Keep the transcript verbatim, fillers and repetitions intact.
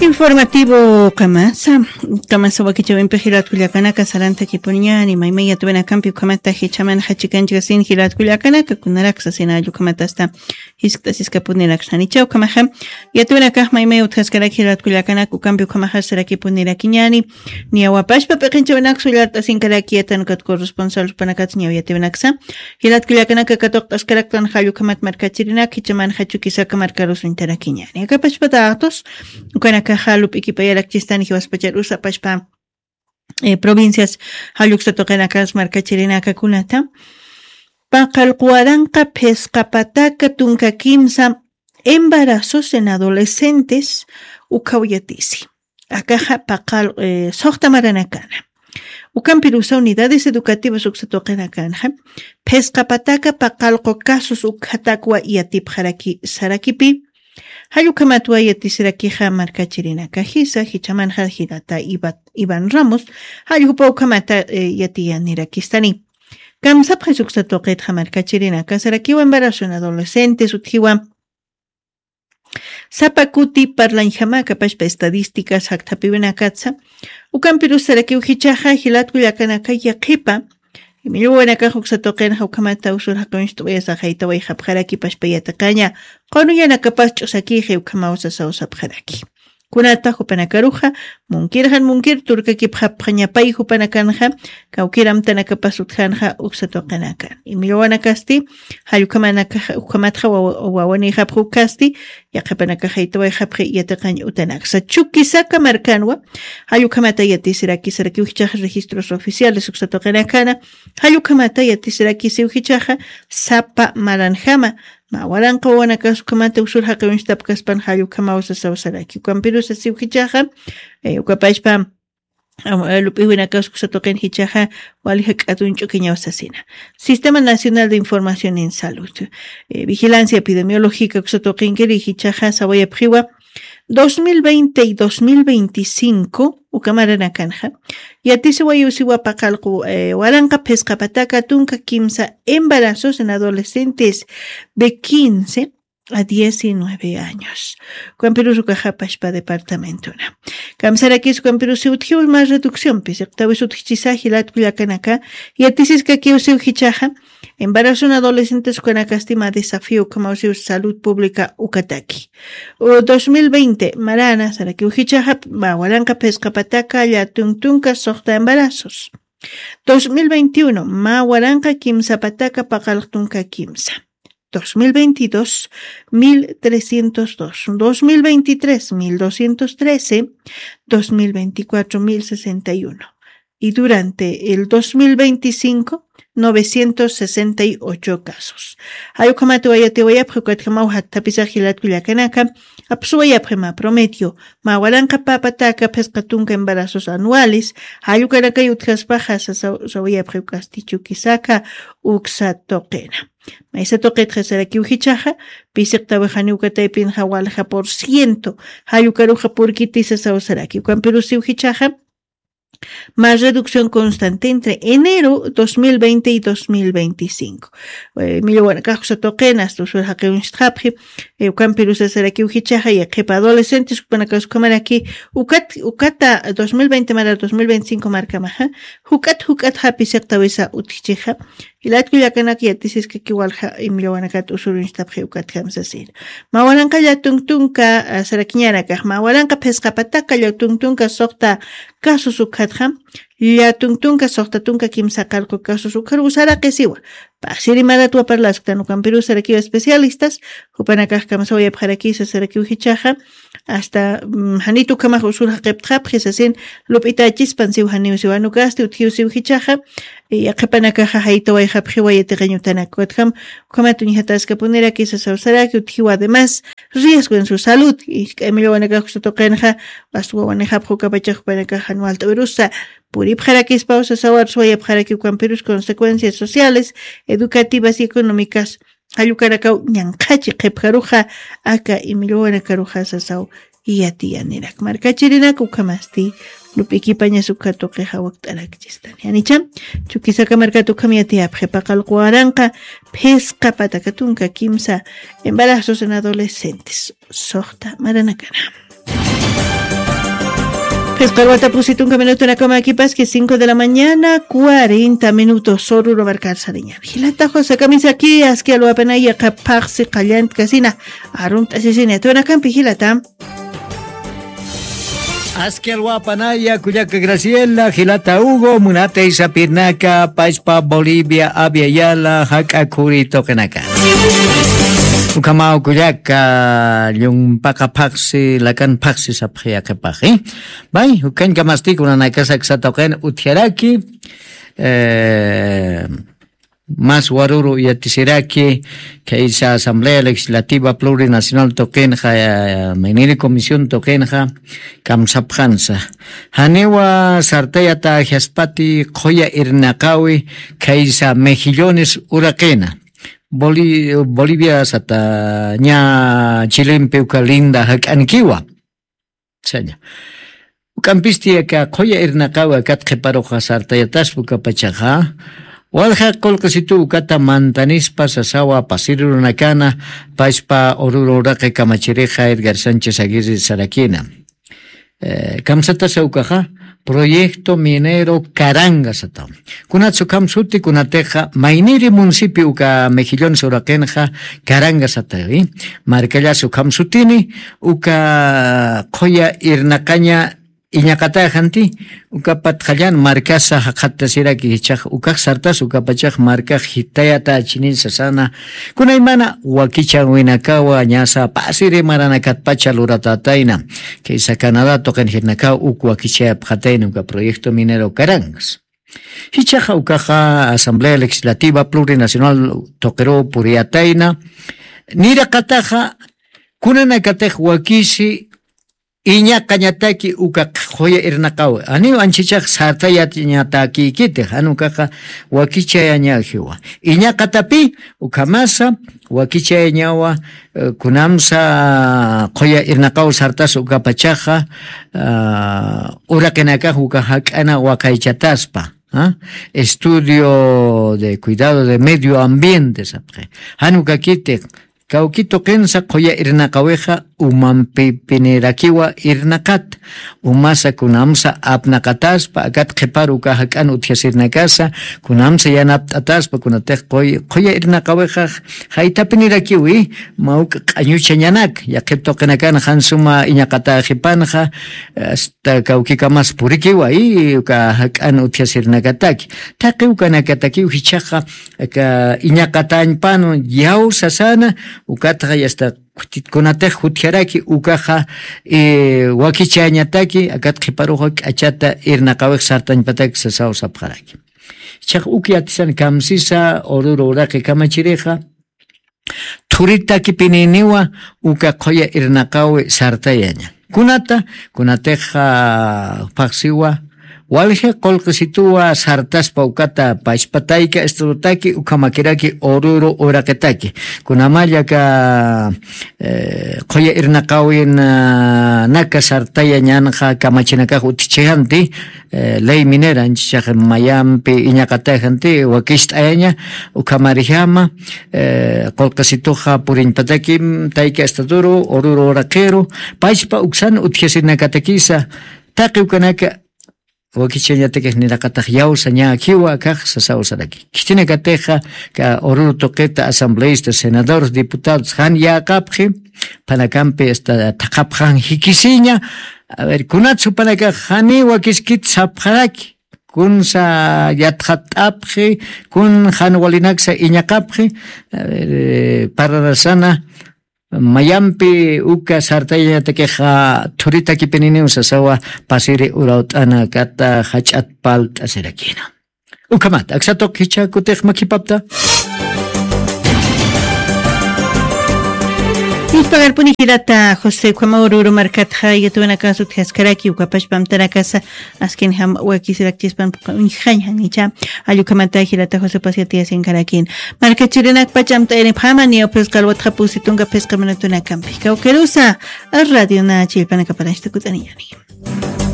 Informativo kamasa, kamasa wakichawimpi jilatkullakanaka sarantakipuñani maymay yatwinakampi ukhamata jichamanxa chikanchikasin jilatkullakanaka kunaraksasin allukhamatasta. Jiskt'asiskapuniraksananicha ukhamaxa yatwinakax maymay utjaskarak jilatkullakanaka ukampi ukhamaxa sarakipunirakiñani. Niyawapashpa p'iqinchawinaksa ullart'asinkaraki yatan ukat corresponsal jupanakatsa ñaw yatwinaksa jilatkullakanaka katuqt'askaraktan jallukhamat markachirinak jichamanxa chukisaka markarusuñtarakiñani akapashpa datos. Ukanakaxa lup'ikipayarakchistan jiwaspachar usapashpa provincias jalluksa tuqinakas markachirinakakunata. Paqallqu waranqa phisqa pataka tunka kimsa embarazos en adolescentes ukhaw yatisi. Akaxa paqal suxta maranakana. Ukampirusa unidades educativas uksa tuqinakanxa phisqa pataka paqallqu casos ukhatakwa yatipxaraki sarakipi. Jallukhamatwa yatisirakixa markachirinaka jisa jichamanxa jirata iván ramos. Jalljupa ukhamata yatiyanirakistani. Kamsapxis uksa tuqitxa markachirinaka sarakiwa embarazo en adolescentes utjiwa sapa kuti parlañjama kapashpa estadísticas jakthapiwinakatsa. Ukampirus sarakiw jichaxa jilatkullakanaka yaqhipa imilluwanakax uksa tuqinxa ukhamata usur jaqincht'uwayasa jaytawayxapxaraki pashpa yatiqaña. Qunuyanakapas ch'usakixi ukhamaw sasaw sapxaraki. Kunata jupanakaruxa munkirxan munkir turkakipxapxañapay jupanakanxa kawkir amtanakapas utjanxa uksa tuqinakan imilluwanakasti jallukhamanakaxa ukhamatxa wawanixapxa ukasti. Yaqhipanakax jaytawayxapxi yatiqañ utanaksa chukisaka markanwa. Jallukhamata yatisiraki sarakiw jichaxa registros oficiales uksa tuqinakana. Jallukhamata yatisiraki siw jichaxa sapa maranjama. Mä waranqa wawanakas ukhamata usur jaqiwinchtapkaspan jallukhamaw sasaw saraki ukampirusa siw jichaxa ukapashpa lup'iwinakas uksa tuqin jichaxa wali jak'atuñ ch'ukiñaw sasina. Sistema nacional de información en salud vigilancia epidemiológica uksa tuqinkiri jichaxa sawayapxiwa dos mil veinte y dos mil veinticinco uka maranakanxa yatisiwayusiwa paqallqu waranqa phisqa pataka tunka kimsa embarazos en adolescentes de quince a diecinueve años. Ukampirus ukaxapashpa departamentona kamsarakis ukampirus siwtjiw mas reducción pisiqtawis utjchisa jilatkullakanaka yatisiskakiw siw jichaxa embarazo en adolescentes ukanakasti mä desafío ukhamaw siw salud pública ukataki. Dos mil veinte marana sarakiw jichaxa mä waranqa phisqa pataka llätun tunka suxta embarazos. Dos mil veintiuno mä waranqa kimsa pataka paqallq tunka kimsa. Dos mil veintidós mil trescientos dos, dos mil veintitrés mil doscientos trece, dos mil veinticuatro mil sesenta y uno. Y durante el dos mil veinticinco novecientos sesenta y ocho casos. Jallukhamata wayatiwayapxi ukatjamaw jakthapisax jilatkullakanaka apsuwayapxi mä promedio mä waranqa phisqa pataka phisqa tunka embarazos anuales. Jallukanakay utjaspaxa sawayapxi ukasti chukisaka uksa tuqina. Maysa tuqitxa sarakiw jichaxa pisiqtawixani ukataypinxa walja por ciento jallukaruxa purkiti sasaw saraki ukampirus siw jichaxa mä reducción constante entre enero dos mil veinte y dos mil veinticinco. Milluwanakax uksa tuqin asta usur jaqiwinchtxapxi. Ukampirusa sarakiw jichaxa yaqhipa adolescentes ukpanakas ukhamaraki ukat ukata dos mil veinte mara dos mil veinticinco markamaxa juk'at juk'at japisiqtawisa utjchixa. Jilatkullakanaka yatisiskaki walja imillawanakat usurunchtapxi ukatjam sasina. Mä waranqa llätun tunka sarakiñanakax mä waranqa phisqa pataka llätun tunka suxta casos ukhatxam llätun tunka suxta tunka kimsa qallqu casos ukharuw saraqisiwa. Pasiri maratwa parlasktan ukampirus sarakiwa especialistas jupanakax kamsawayapxarakisa sarakiw jichaxa. Asta janit ukhamax usur jaqiptxapxi sasin lup'itachispan siw janiw siwanukasti utjiw siw jichaxa. Yaqhipanakaxa jaytawayxapxiwa yatiqañ utanak ukatjam ukhamat uñjataskapuniraki sasaw saraki utjiwa además riesgo en su salud. Isk'ay millwawanakax uksa tuqinxa asta wawanixapxa ukapachax jupanakax jan walt'awirusa puripxarakispaw sasaw arsuwayapxaraki ukampirus consecuencias sociales educativas y económicas jallukanakaw ñanqhachi qhipjaruxa aka imillwawanakaruxa sasaw. Yatiyanirak markachirinak ukhamasti lup'ikipañas ukha tuqixa wakt'arakchistani janicha. Chukisaka markat ukham yatiyapxi paqallqu waranqa phisqa pataka tunka kimsa embarazos en adolescentes suxta maranakana. Phisqa alwata pusi tunka minutunakamakipaski cinco de la mañana, cuarenta minutos, Oruro markar sariña. Jilata José Kamisaki, aski alwapanaya qhapaqsi qallantkasina, arumt'asisini, atunakampi jilata. Aski alwapanaya, kullaka Graciela, jilata Hugo, munatay sapirnaka, pachpa Bolivia, Abya Yala, jak'a khuri tuqinaka. Ukhamaw kullaka, llumpaqapaqsi, lakanpaqsi sapxi yaqhipaxi. Bay, ukañkamasti kunanakasa aksa tuqin utjaraki, eh, mas Oruro yatisiraki, khaysa Asamblea Legislativa Plurinacional tuqinxa, eh, mayniri comisión tuqinxa, kamsapxansa. Janiwa sartayatäjispati qhuya irnaqawi, khaysa Mejillones uraqina. Boli-, Bolivia sata ña Chilempi uka linda jak'ankiwa. Saña. Uk'ampisti aka qhuya irnaqawi akat qhiparuxa sartayataspa ukapachaxa. Walja qullqisitu ukata mantanispa sasawa pasiri runakana, pachpa Oruro uraqi kamachirixa Edgar Sánchez Aguirre sarakina. Eh, kamsatasa ukaxa, Proyecto Minero Caranga sataw. Kunatsa ukham suti, kunatixa mayniri municipio uka Mejillones uraqinxa Caranga sataw, eh. Markallasa ukham sutini, uka qhuya irnaqaña iñaqatäxanti, uka patxallan markasa jaqhattasiraki, jichhax ukax sartas ukapachax markax jitayatachinin sasana, kunaymana wakichäwinakawa ñasa pasiri maranakatpacha luratätayna. Khaysa Canadá tuqin jirnakaw uk wakichayapxatayna uka Proyecto Minero Carangas. Jichhaxa ukaxa Asamblea Legislativa Plurinacional tuqiruw puriyatayna. Niraqataxa kunanakatix wakisi iñaqañataki uka qhuya irnaqawi. Janiw anchhichax sartayañatakïkiti, jan ukaxa wakichayañajiwa. Iñaqatapi ukhamasa wakichayañawa, eh, kunamsa qhuya irnaqaw sartas ukapachaxa, ah, uraqinakax uka jak'ana waqaychataspa, ah, estudio de cuidado de medio ambiente sapxi. Jan ukakiti, kawki tuqinsa qhuya irnaqawixa umampipinirakiwa irnaqat, umasa kunamsa apnaqataspa, akat qhiparu uka jak'an utjasirnakasa, kunamsa yanapt'ataspa, kunatix qhuy-, qhuya irnaqawixa jaytapinirakiwi, mawk'a q'añuchañanak, yaqhip tuqinakan jan suma iñaqatäxipanxa, hasta kawkikamas purikiwa, y uka jak'an utjasirnakataki. Taqi ukanakatakiw jichhaxa, aka iñaqatañpan yaw sasana, ukatxa yasta khutit-, kunatix jutjaraki ukaxa, eh, wakichañataki, akat qhiparuxa k'achata irnaqawix sartañpataki sasaw sapxaraki. Jichhax uk yatisan kamsisa, Oruro uraqi kamachirixa, thuritakipininiwa uka qhuya irnaqawi sartayaña. Kunata, kunatixa phaxsiwa, walji qullqisituwa sartaspa ukata pachpa tayka estadotaki ukhamakiraki Oruro uraqitaki. Kunamalla aka, eh, qhuya irnaqawinaka sartayañanxa kamachinakax utjichijanti, eh, ley minera, anchhichax mayampi iñaqatäxanti, wakist'ayaña, ukhamarjama, eh, qullqisituxa puriñpatakim, tayka estaduru, Oruro uraqiru, pachpa uksan utjasirinakatakisa, taqi ukanaka, wakichañatakix niraqatax yaw sañäkiwa akax sasaw saraki. Khitinakatixa, ka Oruro tuqita asambleístas, senadores, diputados, jan yäqapxi, phanakampi hasta thaqhapxan jikisiña, a ver, kunatsa jupanakax janiw wakiskit sapxaraki, kunsa yatxatt'apxi, kun jan walinaksa iñaqapxi, a ver, eh, pararasana, mayampi uka sartayañatakixa thuritakipininiw sasawa pasiri urawt'anakata jach'at palt'asirakina. Ukhamat, aksa tuq jichha kutix makhipapta. Nispagarpuni jilata José, ukhamaw Oruro markatxa yatawinakasa utjaskaraki, ukapachpa amtanakasa askinjam wakisirakchispan puqa uñjañjan jichha. Jall ukhamata jilata José, pasir yatiyasinkarakïn. Markachirinakpach amt'ayanipxäma, niyaw phisqa alwatxa pusi tunka phisqa minutunakampi. Kawkirusa, Radio Na chillpanakaparañchata kutt'aniñäni.